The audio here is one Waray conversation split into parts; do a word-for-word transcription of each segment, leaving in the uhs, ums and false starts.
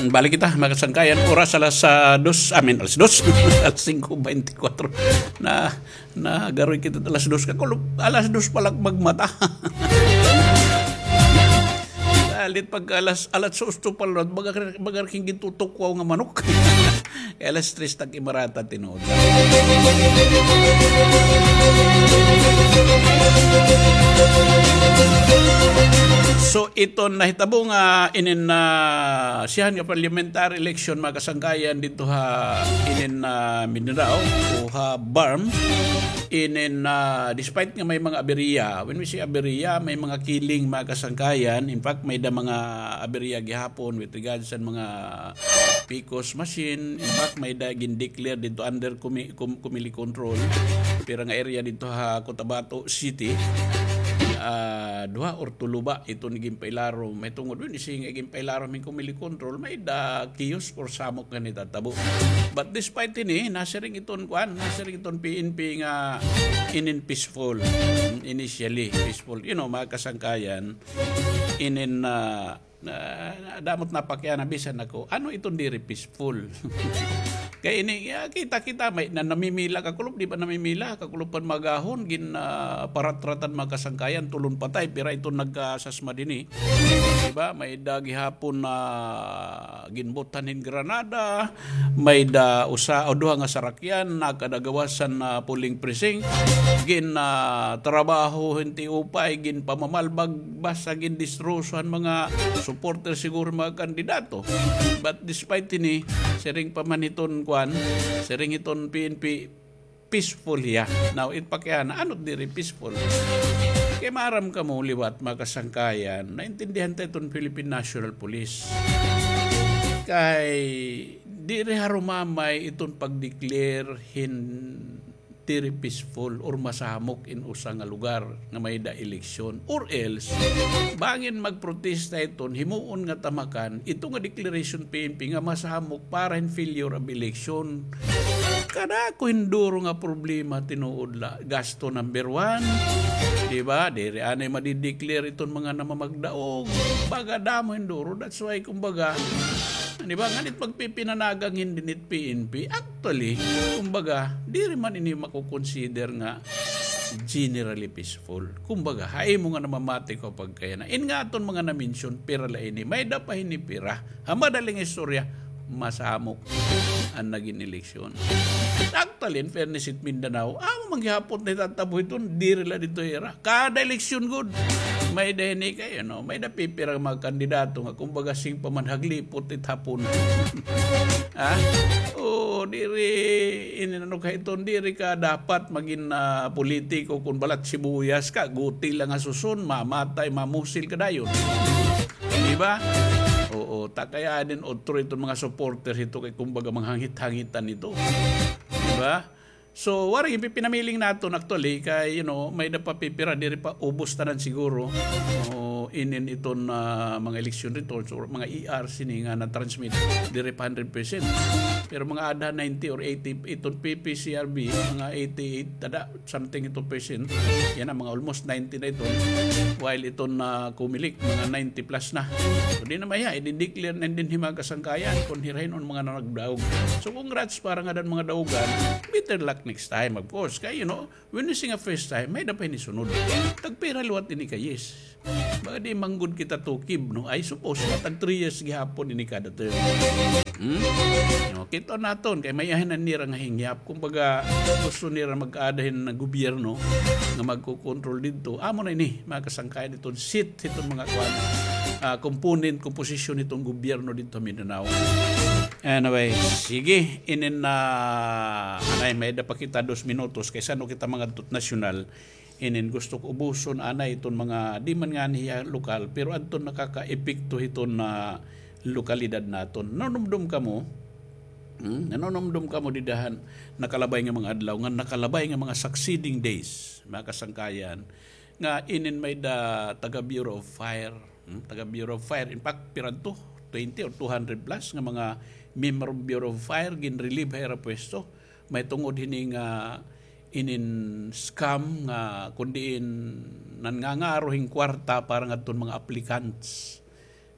Balik kita, mga kasangkayan. Oras alas, ah, dos, I mean, alas dos. Alas singko beintikwatro. Na, nagaroy kita alas dos. Kakulop, alas dos pa la magmata. Salit pagka alas, alas dos pa la, baga, baga kin gitutukwaw nga manok. Kay alas tres tag-imarata tinuod. So, iton nahitabo nga inin, ah, siyahan nga parliamentary election, mga kasangkayan, didto ha inin, ah, Mindanao o ha BARMM. Inin, ah, despite nga may mga aberya, when we say aberya, may mga killing, mga kasangkayan. In fact, may-ada mga aberya gihapon with regards sa mga PCOS machine. In fact, may-ada gin-declare didto under Comi-, Com-, Comelec control. Pira nga area didto ha Cotabato City. Ah, duha or tulo ba iton ginpailarom. Mahitungod, when we say nga ginpailarom hin Comelec control, may-ada chaos or samok nga nahitatabo. But despite hini, nasiring iton kuan, nasiring iton PNP nga inin peaceful. Initially, peaceful. You know, mga kasangkayan, inin, ah, ah, damo it napakiana bisan ako, ano iton diri peaceful? Kay ini, ah, kita-kita, may-ada namimila, kakulop, di ba namimila? Kakulop pa hin mga agahon, gin, ah, paratratan mga kasangkayan, tulo hin patay, pira iton nagkasasma dinhi. Di ba? May-ada gihapon na ginbutan hin granada, may-ada usa o duha nga sarakyan, nakada gawas han, ah, polling precinct, gin, ah, trabaho hin tiupay, ginpamamalbag, basta gindistroso han mga supporter siguro mga kandidato. But despite hini, siring pa man hiton kuan, siring hiton PNP, peaceful hiya. Now, it pakiana, ano diri peaceful? Kay maaram kamo liwat, mga kasangkayan, naintindihan ta iton Philippine National Police. Kay diri harumamay iton pag-declare hin diri peaceful or masamok in usa nga lugar nga may-ada eleksyon. Or else, bangin magprotesta iton, himuon nga tamakan, ito nga declaration PNP nga masamok para hin failure of election. Kadako hin duro nga problema tinuod la. Gasto number one. Di ba? Diri anay madi-declare iton mga namamagdaog. Baga damo hin duro. That's why, kumbaga, di ba, nganit pagpipinanagang hin dinhi it PNP. Actually, kumbaga, diri man ini mako-consider nga generally peaceful. Kumbaga, ha imo nga namamati ko pagkayana. In nga aton mga na-mention, pira la ini. May-ada pa hini pira. Ha madaling istorya, masamok an nagin eleksyon. Actually, in fairness it Mindanao, amo man gihapon nahitatabo iton, diri la didto ha ira. Kada eleksyon gud, may-ada hini kay, ano, may-ada pipira nga mga kandidato nga kumbaga siring pa man haglipot it hapon. Ha? O, diri, ini ano ka iton, diri ka dapat magin, ah, politiko kon balat sibuyas ka, guti la nga suson, mamatay, mamusil ka dayon. Di ba? Oo, ta kay adin otro iton mga supporter hito kay kumbaga manghangit-hangitan ito. Di ba? So, waray, ipipinamiling naton actually kay, you know, may-ada pa pipira, diri pa ubos tanan siguro. O, inin iton, ah, mga election results or mga E R sini nga na-transmit, diri pa hundred percent. Pero mga ada ninety or eighty, iton P P C R B, mga eighty-eight, tada, something ito percent. Yana, mga almost ninety na ito. While iton na Comelec, mga ninety plus na. So, di na maya, i-declare na dinhi mga kasangkayan kon hira hin-o an mga nanagdaog. So, congrats para ngada han mga daogan. Better luck next time, of course. Kay, you know, when you sing a first time, may-ada pa hini sunod. Tagpira liwat ini ka yes. Baga di man gud kita tukib, no? I suppose, tag three years gihapon ini kada term. Hmm? No, kita naton, kay may-ada na nira nga hingyap. Kumbaga, gusto nira mag-ada hin gobyerno nga magkokontrol didto. Amo na ini, mga kasangkayan, iton seat, iton mga kuan, ah, component, komposisyon iton gobyerno didto ha Mindanao. Anyway, sige, inin na, anay, may-ada pa kita dos minutos, kay san-o kita mangadto hit nasyonal. Inin gusto ko ubuson anay iton mga, di man ngani hiya lokal, pero adton nakakaepekto hiton na lokalidad naton. Nanumdom kamo, hmm, nanumdom kamo dida han nakalabay nga mga adlaw, nga nakalabay nga mga succeeding days, mga kasangkayan, nga inin may-ada taga Bureau of Fire, hmm, taga Bureau of Fire. In fact, pira adto, twenty or two hundred plus nga mga miyembro Bureau of Fire, gin-relieve ha ira pwesto. Mahitungod hini nga inin scam nga kun diin nangangaro hin kwarta para ngadton mga applicants.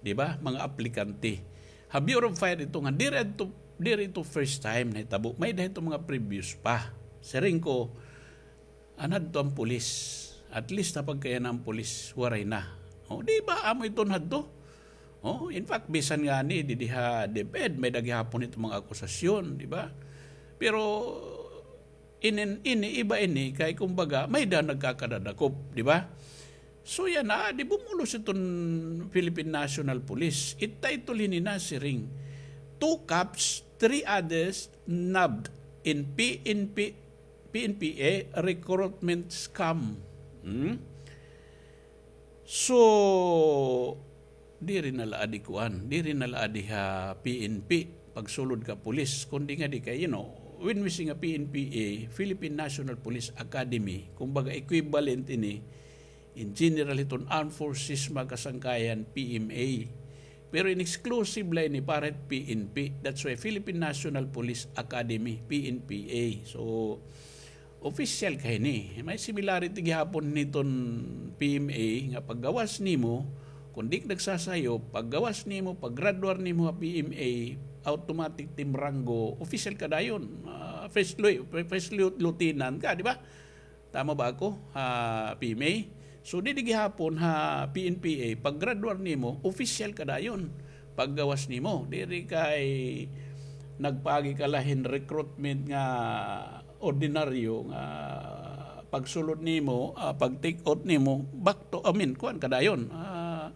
Di ba? Mga aplikante. Ha Bureau of Fire ito nga, diri ito, diri ito first time nahitabo. May-ada ito mga previous pa. Siring ko, anhadto an pulis. At least napagkaiyan an pulis, waray na. O, di ba, amo ito anhadto? O, in fact, bisan ngani, didi ha DepEd, may-ada gihapon ito mga akusasyon, di ba? Pero, inin, ini, iba ini, kay kumbaga, may-ada nagkakadadakop, di ba? So yana, di bumulos iton Philippine National Police. It title hini nasiring, two cops, three others nabbed in P N P, P N P A recruitment scam. Hmm? So, diri na la adi kuan, diri na la adi ha P N P, pagsulod ka pulis, kundi ngadi kay, you know, when we say nga P N P A, Philippine National Police Academy, kumbaga equivalent ini, in general hiton Armed Forces, mga kasangkayan, P M A. Pero in exclusive la ini para hit P N P. That's why Philippine National Police Academy, P N P A. So, official ka hini. May similarity gihapon hiton P M A nga paggawas nimo, kon di ka nagsasayop, paggawas nimo, paggraduar nimo ha P M A, automatic tim ranggo, official ka dayon. Ah, first, lu-, first lieu-, lieutenant ka, di ba? Tama ba ako? Ha P M A? So, didi gihapon ha P N P A, paggraduar nimo, official ka dayon. Paggawas nimo, diri kay nagpaagi ka la hin recruitment nga ordinaryo nga pagsulod nimo, ah, pag-take out nimo, back to, I mean, kuan ka dayon, ah,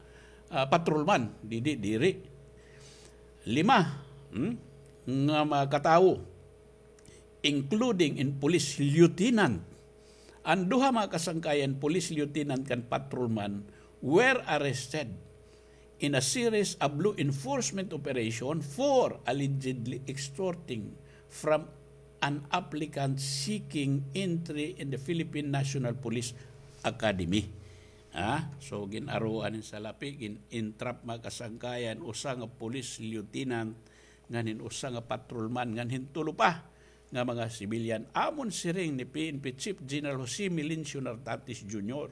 ah, patrolman, didi, diri. Lima, hmm, nga mga katawo, including in police lieutenant. An duha, mga kasangkayan, police lieutenant kan patrolman, were arrested in a series of law enforcement operation for allegedly extorting from an applicant seeking entry in the Philippine National Police Academy. Ha? So, gin-aruan hin salapi, gin-entrap, mga kasangkayan, usa nga police lieutenant, ngan hin usa nga patrolman, ngan hin tulo pa nga mga sibilyan. Amon siring ni P N P Chief General Jose Melencio Nartates Junior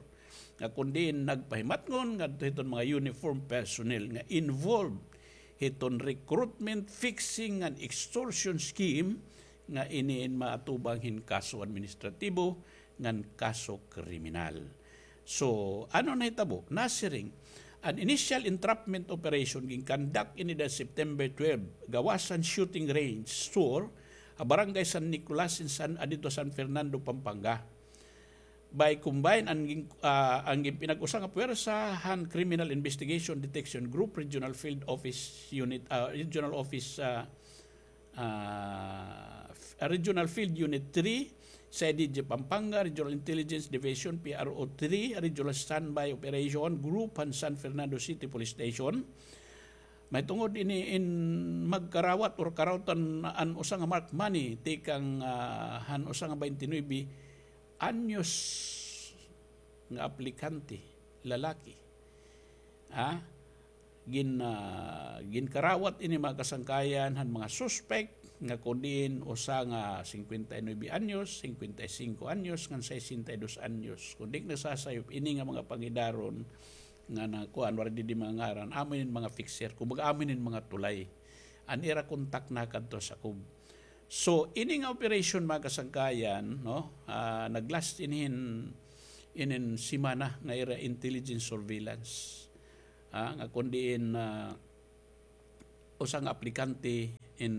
nga kon diin nagpahimatngon ngadto hiton mga uniform personnel nga involved hiton recruitment, fixing, ngan extortion scheme nga ini in maatubang hin kaso administratibo ngan kaso kriminal. So, ano nahitabo? Nasiring, an initial entrapment operation gin-conduct ini dida September twelve, gawas han shooting range store ha Barangay San Nicolas in San, ah, didto San Fernando, Pampanga. By combine an gin-, ah, an gin-, pinag-usa nga puwersa han Criminal Investigation Detection Group, Regional Field Office Unit, ah, Regional Office, ah, ah, f-, Regional Field Unit three, C I D G Pampanga, Regional Intelligence Division, P R O three, Regional Standby Operation Group han San Fernando City Police Station. Mahitungod ini in magkarawat or karawatan an usa nga marked money tikang, ah, han usa nga twenty-nine anyos nga aplikante, lalaki. Ah, gin-, ah, ginkarawat ini, mga kasangkayan, han mga suspek nga kon diin usa nga cincuenta y nueve anyos, cincuenta y cinco anyos, ngan sesenta y dos anyos. Kon di ak nasasayop, ini nga mga pangidaron nga na, kuan, waray didi mga ngaran, amo ini mga fixer, kumbaga amo ini mga tulay. An ira kontak nakadto ha sakob. So, ini nga operation, mga kasangkayan, no, ah, nag-last ini hin, inin semana nga ira intelligence surveillance. Ah, nga kon diin, ah, usa nga aplikante in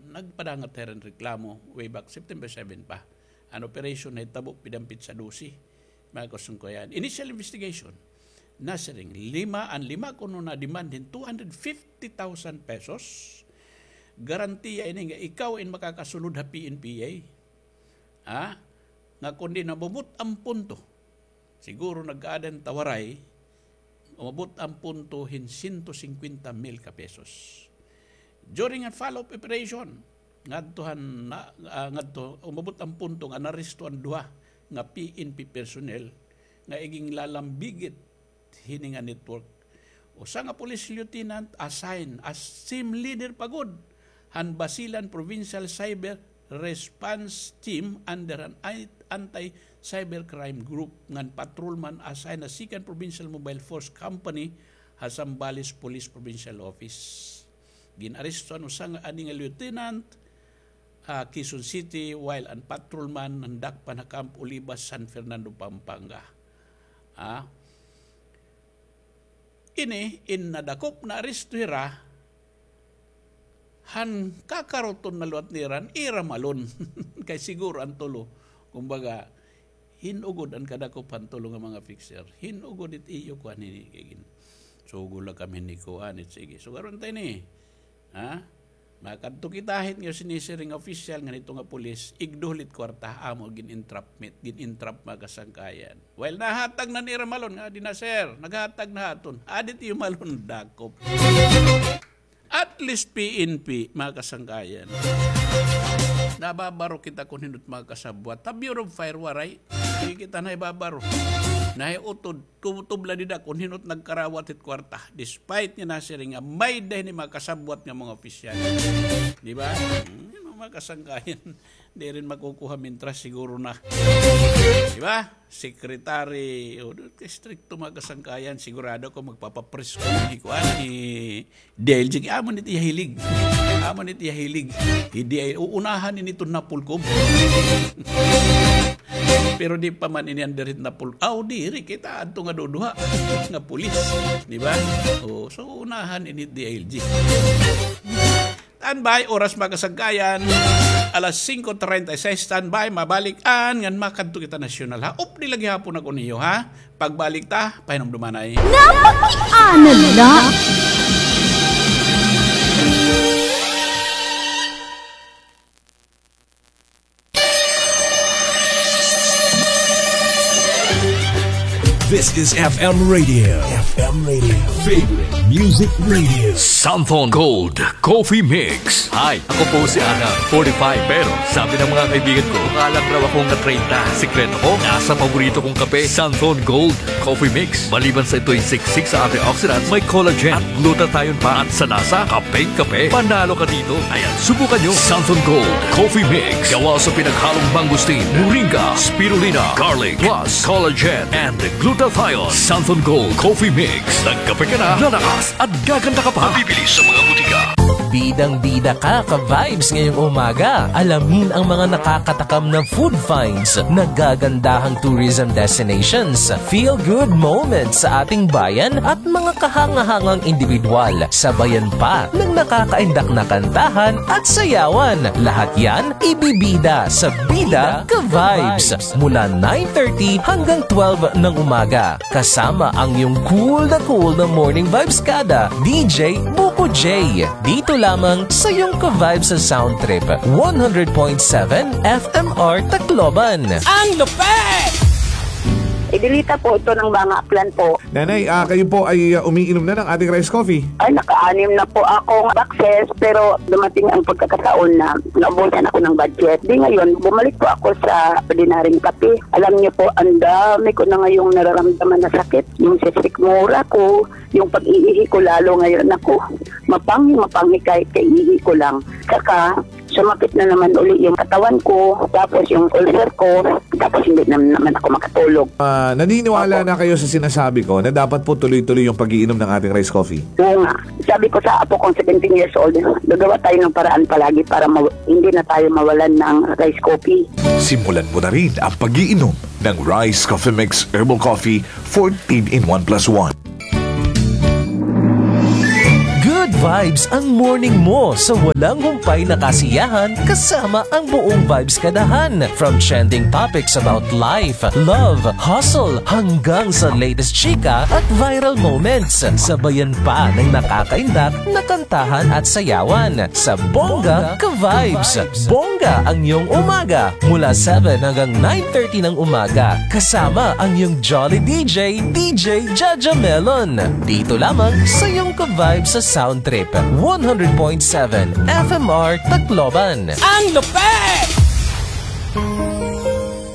nagpadangat hira hin reklamo way back September seven pa. An operation nahitabo pidamit sa dose. Mga kasangkayan. Initial investigation, nasiring, lima, an lima kuno na-demand hin two hundred fifty thousand pesos. Garantiya ini nga ikaw in makakasulod ha P N P A. Ha? Nga kon diin umabot an punto, siguro nag-aada hin tawaray, umabot an punto hin sento singkwenta mil ka pesos. During a follow-up operation, ngadto han na, ah, ngadto, umabot an punto nga naaresto an duha nga P N P personnel nga iginglalambigit hini nga network. Usa nga police lieutenant assigned as team leader pa gud han Basilan Provincial Cyber Response Team under an I-, Anti-Cybercrime Group, ngan patrolman assigned ha Second Provincial Mobile Force Company ha Zambales Police Provincial Office. Gin-aresto an usa nga, ani nga lieutenant, ha Quezon City while an patrolman nandakpan ha Camp Olivas, San Fernando, Pampanga. Ah. Ini, in nadakop, naaresto hira, han kakaruton na liwat nira, ira malon. Kay siguro an tulo, kumbaga, hin-o gud an kadakop han tulo nga mga fixer. Hin-o gud it iyo kuan hini, kay gin-, sugo la kami ni kuan, it sige. So, karon ta ini, ha? Makadto kita hit nga sinisiring nga opisyal ngan ito nga pulis, igduhol it kwarta, amo gin-entrapment, gin-entrap, mga kasangkayan. Well, nahatag na ni Ramalon nga, di na, sir, naghatag na haton. Adi it iyo malon, dakop. At least P N P, mga kasangkayan. Nababaro kita kon hin-o it mga kasabwat. Ha Bureau of Fire, waray. Di kita nahibabaro. Nahiutod, tumutubla dida kon hin-o it nagkarawat hit kwarta. Despite nga nasiring nga may-ada hini mga kasabwat nga mga opisyal. Di ba? Hmm, mga kasangkayan. Di rin makukuha mintras siguro na. Di ba? Secretary, o, doon kay stricto mga kasangkayan, sigurado ko magpapapresko ni kuan, ni D I L G. Amo nit iya hilig. Amo nit iya hilig. Hindi ay uunahan ini iton Napolcom. Pero di pa man ini under hit Napol-, aw, diri, kita adto nga duduha nga pulis, di ba? O, so, unahan ini D I L G. Standby, oras mga kasangkayan, alas singko treinta y seis, standby, mabalik-an ngan makadto kita nasyonal, ha? Updi la gihapon ako niyo, ha? Pagbalik ta, pahinumdumanay. Napakiana la. This is F M Radio. F M Radio. Favorite Music Radio. Santhon Gold Coffee Mix. Hi, ako po si Ana, forty-five. Pero sabi ng mga kaibigan ko, mukha lang raw akong na-treinta. Sikreto ko, nasa paborito kong kape, Santhon Gold Coffee Mix. Maliban sa ito'y siksik sa antioxidants, may collagen at glutathione pa. At sa lasa, kapeng-kape. Panalo ka dito. Ayan, subukan nyo. Santhon Gold Coffee Mix. Gawa sa pinaghalong mangosteen, moringa, spirulina, garlic, plus collagen and glutathione. Santhon Gold Coffee Mix. Nagkape ka na, lalakas at gaganda ka pa. Mabibili sa mga butika. Bidang-bida ka, ka-vibes, ngayong umaga. Alamin ang mga nakakatakam na food finds, nagagandahang tourism destinations, feel-good moments sa ating bayan at mga kahanga-hangang indibidwal. Sabayan pa ng nakakaindak na kantahan at sayawan. Lahat yan ibibida sa Bida Ka-Vibes mula nine thirty hanggang twelve ng umaga. Kasama ang iyong cool na cool na morning vibes kada, D J Buko J. Dito lamang sa iyong ka-vibes sa Sound Trip, one hundred point seven F M R Tacloban. Ang lupit! Ibilita po ito ng mga plan po. Nanay, ah, kayo po ay, ah, umiinom na ng ating rice coffee? Ay, naka-anim na po akong boxes, pero dumating ang pagkakataon na naubusan ako ng budget. Di ngayon, bumalik po ako sa ordinaryong kape. Alam niyo po, ang dami ko na ngayong nararamdaman na sakit. Yung sikmura ko, yung pag-iihi ko, lalo ngayon ako. Mapanghi, mapanghi kahit kaiihi ko lang. Saka, sumakit na naman uli yung katawan ko, tapos yung ulcer ko, tapos hindi na naman ako makatulog. Ah, naniniwala Opo. na kayo sa sinasabi ko na dapat po tuloy-tuloy yung pag-iinom ng ating rice coffee? Oo nga. Sabi ko sa apo kong seventeen years old, gagawa tayo ng paraan palagi para maw-, hindi na tayo mawalan ng rice coffee. Simulan mo na rin ang pag-iinom ng Rice Coffee Mix Herbal Coffee fourteen in one plus one. Good vibes ang morning mo sa walang humpay na kasiyahan kasama ang buong Vibes Kadahan. From trending topics about life, love, hustle, hanggang sa latest chika at viral moments. Sabayan pa ng nakakaindak na kantahan at sayawan sa Bongga Ka-Vibes. Bongga ang iyong umaga mula seven hanggang nine thirty ng umaga. Kasama ang iyong jolly D J, D J Jaja Melon. Dito lamang sa iyong ka-vibe sa Sound Trip, one hundred point seven F M R Tacloban. Ang lupit!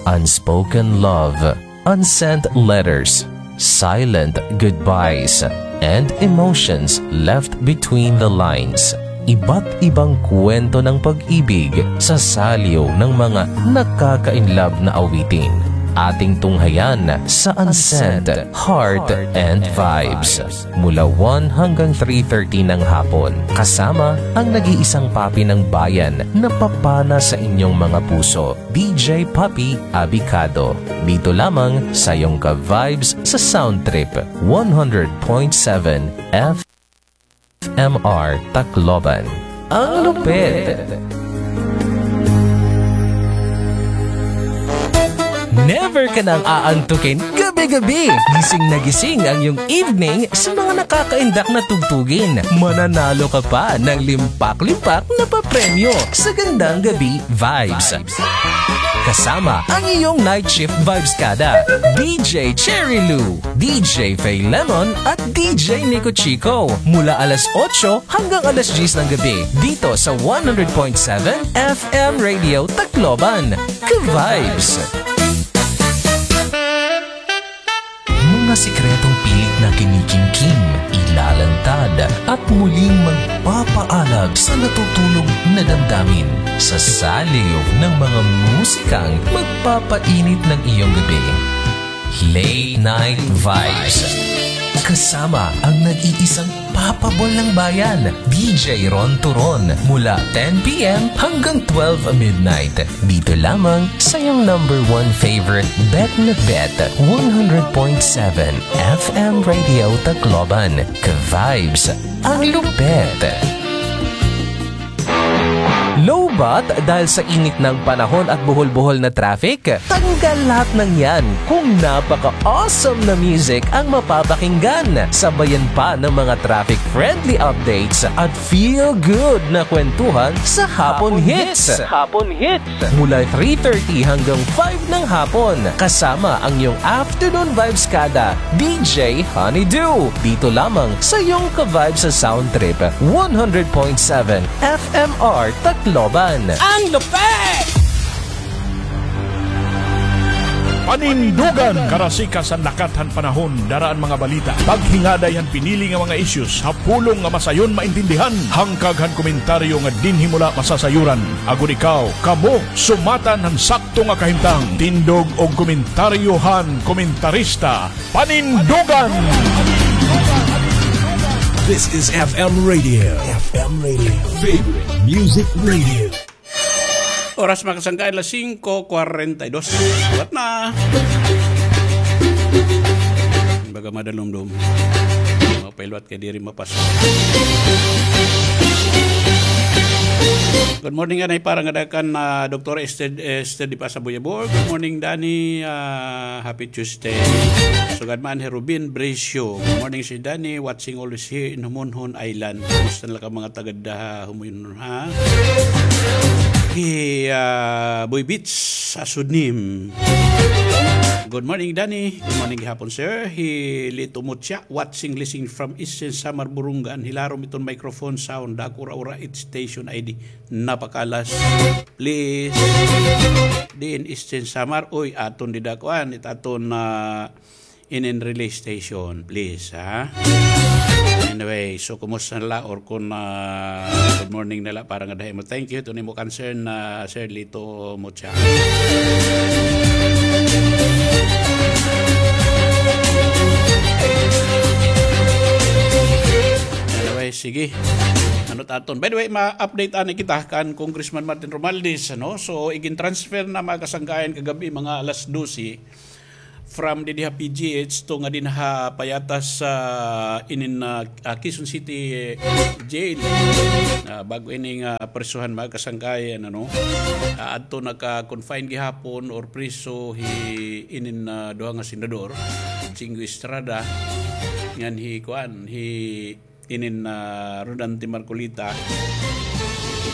Unspoken love, unsent letters, silent goodbyes, and emotions left between the lines. Iba't ibang kwento ng pag-ibig sa saliw ng mga nakaka-inlove na awitin. Ating tunghayan sa Unsent Heart and Vibes mula one hanggang three thirty ng hapon, kasama ang nag-iisang papi ng bayan na papana sa inyong mga puso, D J Papi Abicado. Dito lamang sa iyong ka-vibes sa Sound Trip one hundred point seven F M R Tacloban. Ang lupit! Never ka nang aantukin gabi-gabi. Gising na gising ang iyong evening sa mga nakakaindak na tugtugin. Mananalo ka pa ng limpak-limpak na papremyo sa Gandang Gabi Vibes. Kasama ang iyong night shift vibes kada, D J Cherry Lou, D J Faye Lemon at D J Nico Chico mula alas otso hanggang alas diyes ng gabi dito sa one hundred point seven F M Radio Tacloban. Ka-vibes! Mga sikretong pilit na kinikimkim, ilalantad, at muling magpapaalab sa natutulog na damdamin sa saliw ng mga musikang magpapainit ng iyong gabi. Late Night Vibes. Kasama ang nag-iisang papabol ng bayan, D J Ron Turon, mula ten P M hanggang twelve midnight. Dito lamang sa iyong number one favorite bet na bet, one hundred point seven F M Radio Tacloban. Ka-vibes, ang lupet! Lowbat dahil sa init ng panahon at buhol-buhol na traffic? Tanggal lahat ng yan kung napaka-awesome na music ang mapapakinggan. Sabayan pa ng mga traffic-friendly updates at feel-good na kwentuhan sa Hapon Hits. Hapon Hits. Mula three thirty hanggang five ng hapon, kasama ang iyong afternoon vibes kada, D J Honeydew. Dito lamang sa iyong ka-vibe sa Sound Trip, one hundred point seven F M R Tacloban. Ang lupet! Panindugan! Karasikas han lakat han panahon, dara an mga balita. Paghingaday han pinili nga mga issues ha pulong nga masayon maintindihan. Hangkag han komentaryo nga dinhi mo la masasayuran. Agod ikaw, kamo, sumatan han sakto nga kahimtang. Tindog og komentaryo han komentarista. Panindugan! This is F M Radio. F M Radio. Favorite Music Radio. Oras, mga kasangkayan, alas singko kwarenta y dos. Liwat na. Baga madalumdom. Mapailuat kay diri mapas. Good morning, anay para nga dakan na Doktora Esther, Esther di pa sa Buyabor. Good morning, Danny. Ah, happy Tuesday. Sugad man hi Rubin Bricio. Good morning, si Danny. Watching always here in Humonhon Island. Kumusta na la ka mga taga da Humonhon, ha? Hi, ah, Boy Beats, Asunim. Good morning, Danny. Good morning gihapon, sir. Hi Lito Mucha, watching, listening from Eastern Samar, Borongan. Hilarom iton microphone sound. Dako ura-ura it station I D. Napakalas. Please. Diin Eastern Samar. Uy, aton dida kuan. It aton, ah, inin relay station, please, ha? Anyway, so kumusta na la or kun, ah, good morning na la para nga dahi mo. Thank you to nimo concern na Sir Lito Mucha. Anyway, sige. Ano ta aton? By the way, ma-update ani kita kan Congressman Martin Romualdez, ano? So, igin-transfer na mga kasangkayan kagabi, mga alas dose, from didi ha P G H to nga din ha payatas sa inin, ah, ah, Quezon City Jail. Ah, bag-o ini nga presohan, mga kasangkayan, ano? Ah, adto naka-confine gihapon or preso hi inin, ah, duha nga senador, Jingo Estrada, ngan hi kuan, hi inin, ah, Rodante Marcoleta.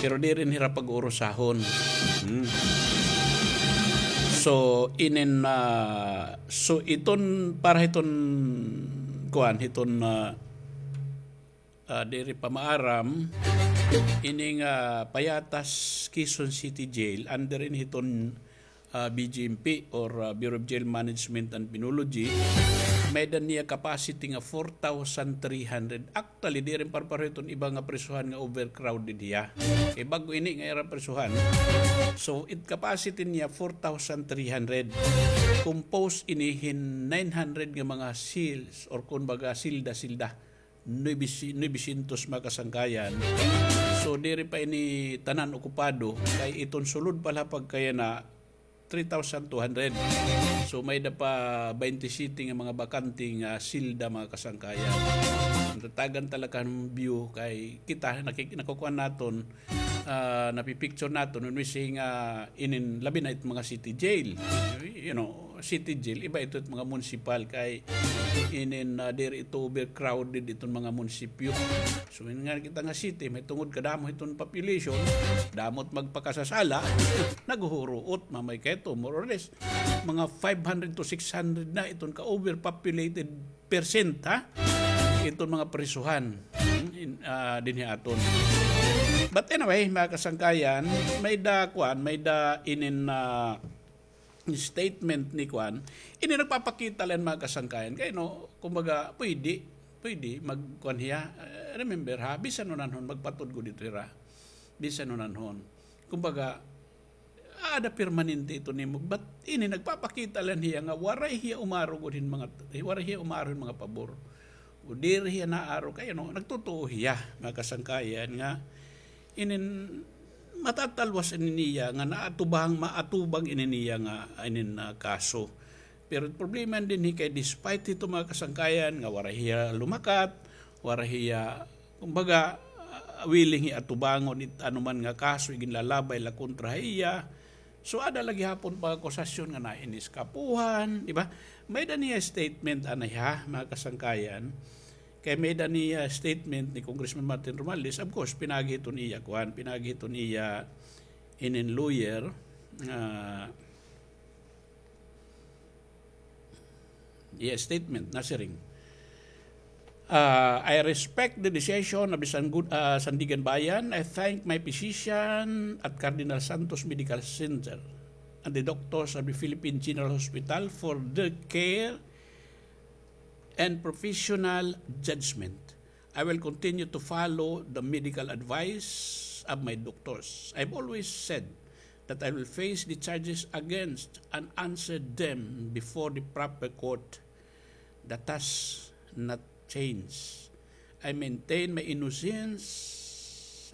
Pero diri hira pag-uurusahon. Hmm. So, inin, ah, so iton para hiton kuan, hiton, ah, ah, diri pa maaram, ining, ah, payatas Quezon City Jail, under ini hiton ah, B J M P or, ah, Bureau of Jail Management and Penology. May-ada niya capacity nga four thousand three hundred. Actually, diri parpareho iton iba nga prisuhan nga overcrowded hiya. Kay bag-o ini nga ira prisuhan. So, it capacity niya four thousand three hundred. Composed ini hin nine hundred nga mga cells or kumbaga silda-silda. Nuebe-, nuebe syentos, mga kasangkayan. So, diri pa ini tanan okupado, kay iton sulod pa la pagkayana, three thousand two hundred. So, may-ada pa baynte siyete nga mga bakante nga silda, mga kasangkayan. Tatagan talaga han view kay kita, nakik-, nakukuan naton, ah, napipicture naton, when we say nga inin, labi na it mga city jail. You know, city jail, iba ito it mga municipal kay inin, ah, diri ito overcrowded iton mga munisipyo. So, yun nga kita nga city, may tungod kadamo iton population, damo it magpakasasala, naghuhuruot, mamay kay ito, more or less. Mga five hundred to six hundred na iton ka-overpopulated percent, ha? Iton mga prisuhan, hmm, in, ah, dinhi aton. But anyway, mga kasangkayan, may-ada kuan, may-ada inin, ah, statement ni kuan. Ini nagpapakita la hin, mga kasangkayan. Kay, no, kumbaga, pwede, pwede magkuan hiya. Eh, remember, ha, bisan hunanhon, magpatudlo didto hira. Bisan hunanhon. Kumbaga, aada permanente ito nimo. But ini nagpapakita la hin hiya nga waray hiya umaro gud hin mga, waray hiya umaro hin mga pabor. O diri hiya naaro kay, ano, nagtutuo hiya, mga kasangkayan, nga inin matatalwas ini niya nga naatubang, maatubang ini niya nga inin, ah, kaso. Pero problema dinhi kay despite hito, mga kasangkayan, nga waray hiya lumakat, waray hiya, kumbaga, ah, willing hiya atubangon it anuman nga kaso iginlalabay la kontra ha iya. So, aada la gihapon pag-akusasyon nga nainiskapuhan, di ba? May-ada niya statement anay ha, mga kasangkayan. Kay may-ada niya statement ni Congressman Martin Romualdez, of course, pinaagi hiton iya kuan, pinaagi hiton iya inin lawyer, ah, iya statement, nasiring. Ah, I respect the decision of the Sangu-, ah, Sandiganbayan. I thank my physician at Cardinal Santos Medical Center and the doctors of the Philippine General Hospital for their care and professional judgment. I will continue to follow the medical advice of my doctors. I've always said that I will face the charges against and answer them before the proper court. That has not changed. I maintain my innocence.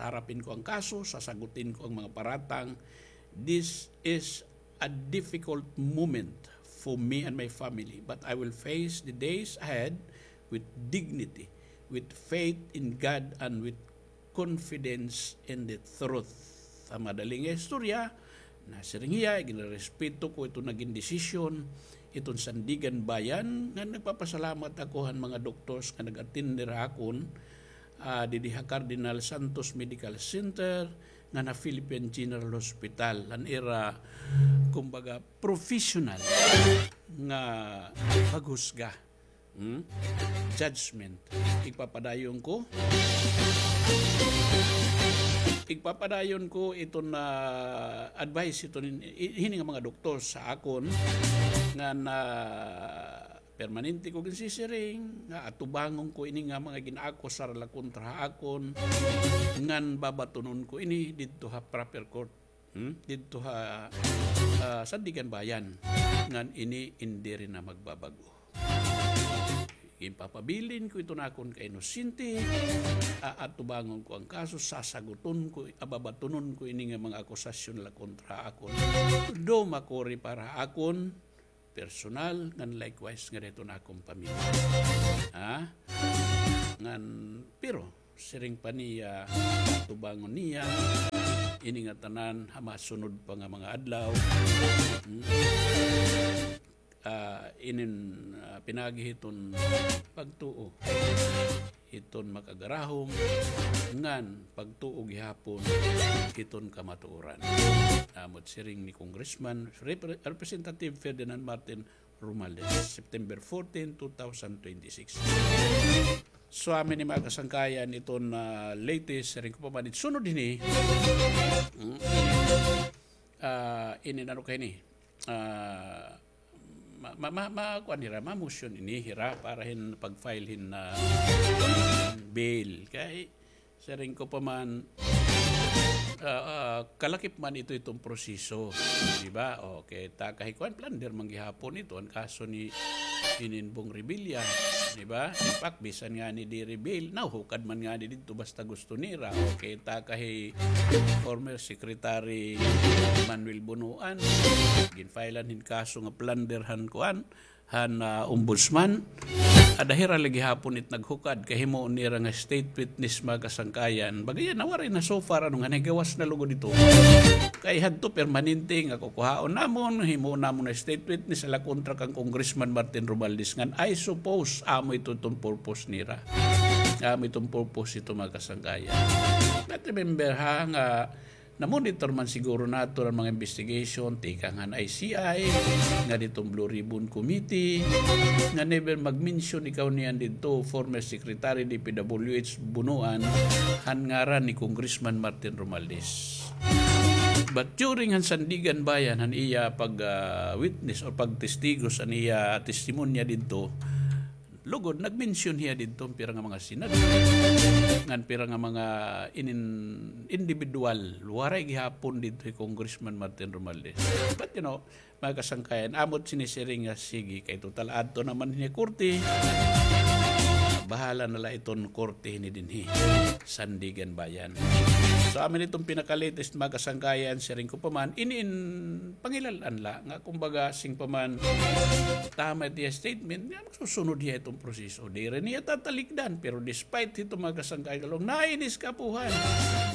Harapin ko ang kaso, sasagutin ko ang mga paratang. This is a difficult moment for me and my family, but I will face the days ahead with dignity, with faith in God, and with confidence in the truth. Ha madali nga istorya, nasiring hiya, ginrespeto ko iton nagin desisyon iton Sandiganbayan, nga nagpapasalamat ako han mga doctors nga nag-attend ha akon, ah, didi ha Cardinal Santos Medical Center, ngan ha Philippine General Hospital, han ira, kumbaga, professional nga paghusga. Hmm? Judgment. Igpapadayon ko. Igpapadayon ko iton, ah, advice iton hin-, hini nga mga doktor ha akon nga na permanente ko ginsisiring nga atubangon ko ini nga mga gin-akusar la kontra ha akon ngan babatunon ko ini didto ha proper court. Hmm? Didto ha, ah, Sandiganbayan, ngan ini indi rin na magbabag-o. Ginpapabilin ko iton akon kainosente, aatubangon ko ang kaso, sasaguton ko, ababatunon ko ini nga mga akusasyon la kontra ha akon. Daw makuri para ha akon, personal, ngan likewise ngada hiton akon pamilya. Ha? Ngan, pero, siring pa niya, tubangon niya, ini ngatanan, ha masunod pa nga mga adlaw. Hmm. Ah, inin, ah, pinaagi hiton pagtuo. Hiton makagarahom, ngan pagtuo gihapon hiton kamatuoran. Amo it siring ni Congressman Rep-, Representative Ferdinand Martin Romualdez, September fourteen, two thousand twenty-six. So, amo ini mga kasangkayan iton, ah, latest, siring ko pa man, it sunod hini. Hmm. Ah, ini ano kay ni? Ah, ma, ma, ma, ma, kuan hira, ma-motion ini hira para hin pag-file hin, ah, bail. Kay, siring ko pa man, ah, ah, kalakip man ito iton proseso, di ba? Okay, ta kay kuan, plunder man gihapon ito, an kaso ni inin Bong Revilla, di ba? In fact, bisan ngani diri bail, nahuhukad man ngani didto basta gusto nira. Okay, ta kay former Secretary Manuel Bonoan, gin-filean hin kaso nga plunder han kuan, han, ah, ombudsman. Ada hira la gihapon it naghukad, kay himuon nira nga state witness, mga kasangkayan. Baga yana, waray na so far, ano nga, nagawas na lugod ito. Kay hadto permanente nga kukuhaon namon, himuon namon nga state witness, ala kontra kan Congressman Martin Romualdez ngan, I suppose, amo ito iton purpose nira. Amo iton purpose ito, mga kasangkayan. But remember, ha, nga namonitor man siguro naton an mga investigation, tikang han I C I, ngadi hiton Blue Ribbon Committee, nga never mag-mention ikaw niyan didto, former Secretary D P W H Bonoan, han ngaran ni Congressman Martin Romualdez. But during han Sandiganbayan, han iya pag, ah, witness or pagtestigos, an iya testimonya didto, lugod, nag-mention hiya didto pira nga mga senador, ngan pira nga mga inin-, individual, waray gihapon didto hi Congressman Martin Romualdez. But, you know, mga kasangkayan, amo it sinisiring nga, sige, kay total adto naman hini korte, bahala na la iton korte hini dinhi, Sandiganbayan. So, amo ini iton pinaka-latest, mga kasangkayan, siring ko pa man, inin pangilal-an la, nga kumbaga, siring pa man, tama it iya statement, nga magsusunod hiya iton proseso. Diri niya tatalikdan, pero despite hito, mga kasangkayan, kalong, nainis ka, puhan.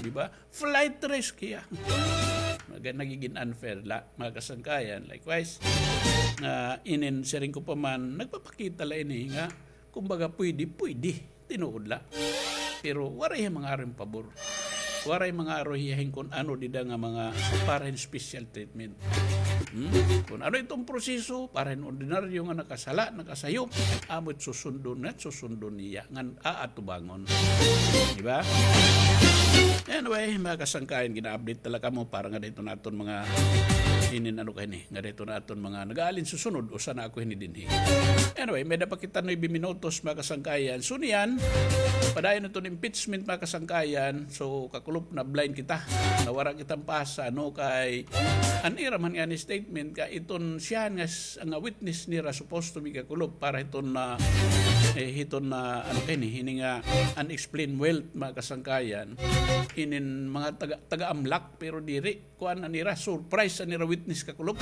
Di ba? Flight risk hiya. Mga nagigin unfair la, mga kasangkayan. Likewise, nga inin siring ko pa man, nagpapakita la ini nga, kumbaga, pwede, pwede. Tinuod la. Pero waray hiya mangaro hin pabor. Waray mangaro hiya hin kun ano dida nga mga para hin special treatment. Hmm? Kun ano iton proseso, para hin ordinaryo nga nakasala, nakasayop, amo it susundon, nga susundon niya, ngan aatubangon. Di ba? Anyway, mga kasangkayan, gina-update ta la kamo para ngadi hiton aton mga inin ano kay ni, ngadi hiton aton mga nag-aalin susunod, usa na ako hini dinhi. Anyway, may-ada pa kita nuebe minutos, mga kasangkayan. So, niyan, padayon iton impeachment, mga kasangkayan. So, kakulop, na-blind kita. Nawara kita hin pasa, no, kay an ira man ngani statement, kay iton siya nga s-, nga witness nira supposed to be, kakulop, para hiton na, eh, hiton na, ano kay ni, hini nga unexplained wealth, mga kasangkayan. Inin mga taga, taga-AMLAC, pero diri. Kuan an ira, surprise an ira witness, kakulop.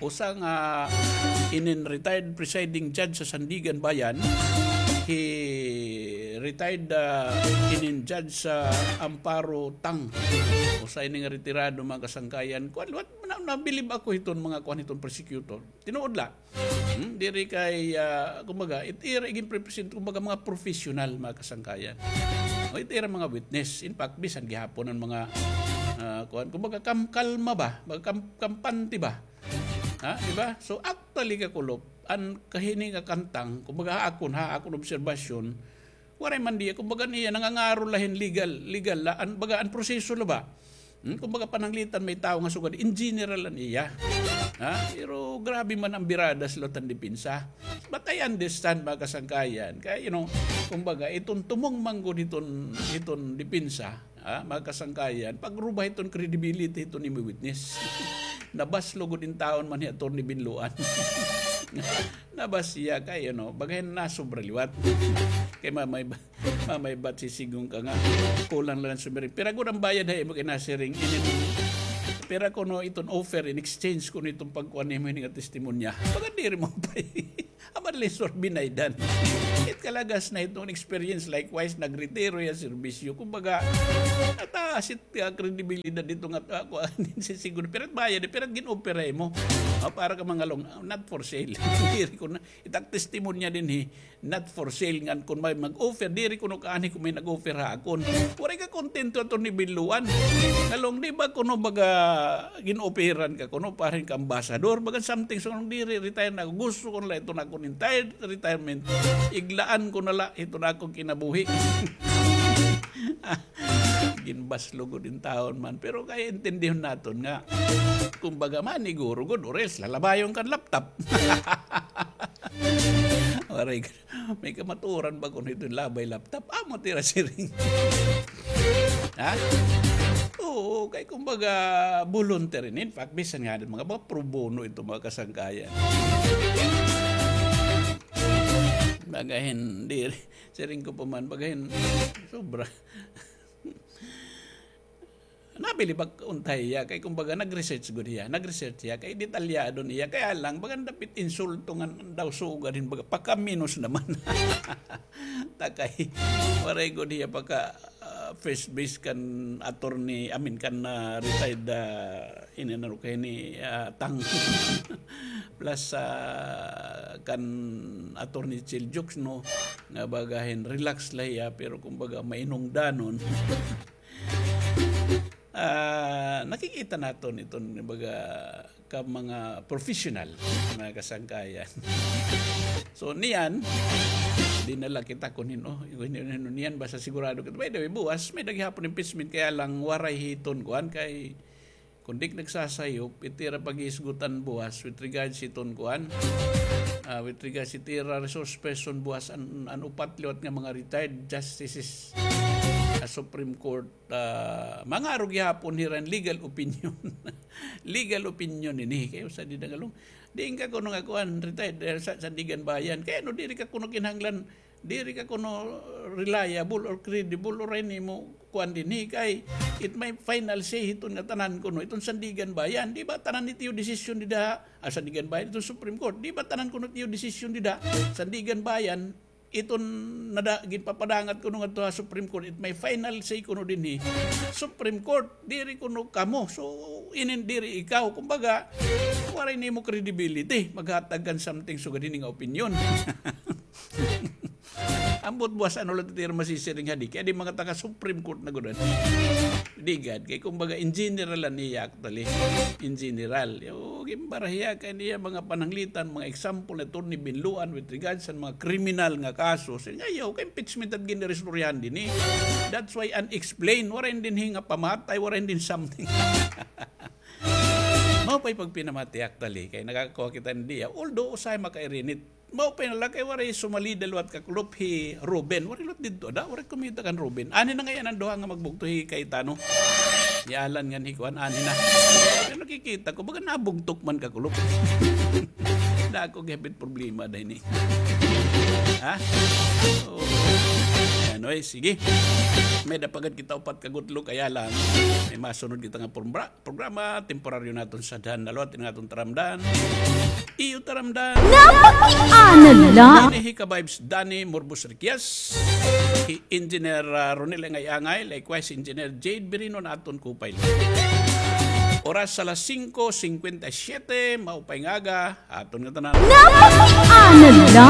Usa nga inin retired presiding judge sa Sandiganbayan, hi retired, ah, inin judge sa Amparo Tang. Usa ini nga retirado, mga kasangkayan. Kuan, what, na, nabilib ako hiton mga kuan hiton prosecutor. Tinuod la. Hmm, diri kay, ah, kumbaga, it ira igin-represent, kumbaga, mga professional, mga kasangkayan. O, it ira mga witness. In fact, bisan gihapon an mga, ah, kuan, kumbaga, kam-, kalma ba? Mga kam-, kampante ba? Ha, di ba? So, actually, kakulop, an kahini nga kantang, kumbaga, ha akon, ha akon obserbasyon, waray man diya, kumbaga niya, nangangaro la hin legal, legal la, an, baga, an proseso la ba? Hmm, kumbaga, pananglitan may tawo nga sugad, in general an iya. Ha? Pero grabe man an biradas la tan depensa. But I understand, mga kasangkayan. Kay, you know, kumbaga, iton tumong man gud hiton, hiton depensa, ha, mga kasangkayan, pagruba hiton credibility hiton imo witness. Nabas lugod in taon man hi Attorney Binloan. Nabas siya kay, ano, bagay na sobra liwat. Kay mamay ba, mamay ba't sisigon ka nga, kulang la an sumiring. Pira gud an bayad ha imo kay nasiring. Inin, pira kuno iton offer in exchange kuno iton pagkuan nimo hini nga testimonya. Baga diri mo pay. Aban, Lessor, binaydan. It kalagas na iton experience, likewise, nagretiro hiya serbisyo. Kumbaga, nataas it, ah, kredibilidad dito nga, ah, kuan, sisigon. Pero bayad, pero gin-offer ha imo. Ah, para ka mangalong, ah, not for sale. Diri kuno, it ak testimonya dinhi, not for sale. Ngan kun may mag-offer, diri kuno kaani kun may nag-offer ha akon. Waray ka kontento, Attorney Binloan. Ngalong, di ba kuno baga gin-offeran ka kuno para hin ka-ambassador? Baga something, so, ngalong diri, retire na ako. Gusto ko na la iton akon entire retirement. Iglaan ko na la iton akon kinabuhi. ginbaslo gud in taon man. Pero kay intindihon naton nga, kumbaga, maniguro gud, or else lalabayon kan laptop. Waray, may kamatuoran ba kuno iton labay laptop? Amo it ira siring. Ha? Oo, kay kumbaga, voluntary in fact, bisan ngani mga, mga pro bono ito, mga kasangkayan. Baga hin, diri, siring ko pa man, baga hin, sobra. Nabilib ak unta hiya, kay kumbaga nag-research gud hiya, nag-research hiya, kay detalyado niya, kaya lang, baga dapit insulto ngan daw sugad hin, baga pakaminos naman. Ta kay, waray gud hiya paka, ah, first base kan attorney, I mean, kan, ah, retired, ah, ini ano kay ni, ah, Tang. Plus, ah, kan attorney Chil Jukes, no, nga baga hin relax la hiya, pero kumbaga mainungdanon. Ah, nakikita naton iton, baga, ka mga professional, mga kasangkayan. So, niyan, di na la kita kun hin-o, kun hin-o, hin-o niyan, basta sigurado kita. By the way, buwas, may-ada gihapon impeachment, kaya lang waray hiton kuan kay, kun di ak nagsasayop, it ira paghisgutan buwas with regards hiton kuan, ah, with regards it ira resource person buwas an, an upat liwat nga mga retired justices sa Supreme Court, ah, mangaro gihapon hira hin legal opinion. Legal opinion ini. Kay usa di nangalong. Diin ka kuno nga kuan, retired, eh, sa Sandiganbayan. Kay ano, diri ka kuno kinahanglan, diri ka kuno reliable or credible or an imo kuan dinhi kay it may final say hiton nga tanan kuno. Iton Sandiganbayan, di ba tanan it iyo desisyon dida? Ah, Sandiganbayan, iton Supreme Court, di ba tanan kuno it iyo desisyon dida? Sandiganbayan, iton nada, ginpapadangat kuno ngadto ha Supreme Court, it may final say kuno dinhi Supreme Court, diri kuno kamo. So, inin diri ikaw. Kumbaga, waray nimo credibility maghatag kan something sugad hini nga opinion. Ambot buwas ano la it ira masisiring hadi, kay di mga taga Supreme Court na gud. Di gad, kay kumbaga in general la niya actually. In general. Yo, gimbarahiya kay niya mga pananglitan, mga example ni Attorney Binloan with regards sa mga kriminal nga kaso. Siring, ayaw, kay impeachment it gin-iristoryahan dinhi. That's why unexplained, waray dinhi nga pamatay, waray din something. Mao pa'y pagpinamati actually, kay nakakuha kita niya. Although, usahay makairinit. Mao pa la kay waray sumalida liwat kakulop hi Ruben. Waray liwat didto, ada, waray kumita kan Ruben. Anhi na ngay-an an duha nga magbugto hi Cayetano. Hi Alan ngan hi kuan, anhi na. Pero nakikita ko, baga nabugtok man kakulop. Dako gihapit problema da ini. Ha? Oo. Anyway, sige. May-ada pa gad kita upat ka gutlo, kaya lang, may masunod kita nga prombra-, programa, temporaryo naton sadhan. Nalawat in aton taramdan. Iyo taramdan. Napakiana la. Ini hi Ka-Vibes Danny Morbos Riquias. Hi Engineer, ah, Ronel Angay-Angay. Likewise, Engineer Jade Birino na aton co-pilot. Oras alas singko singkwenta y siyete, maupay nga aga, aton nga tanan. Napakiana la.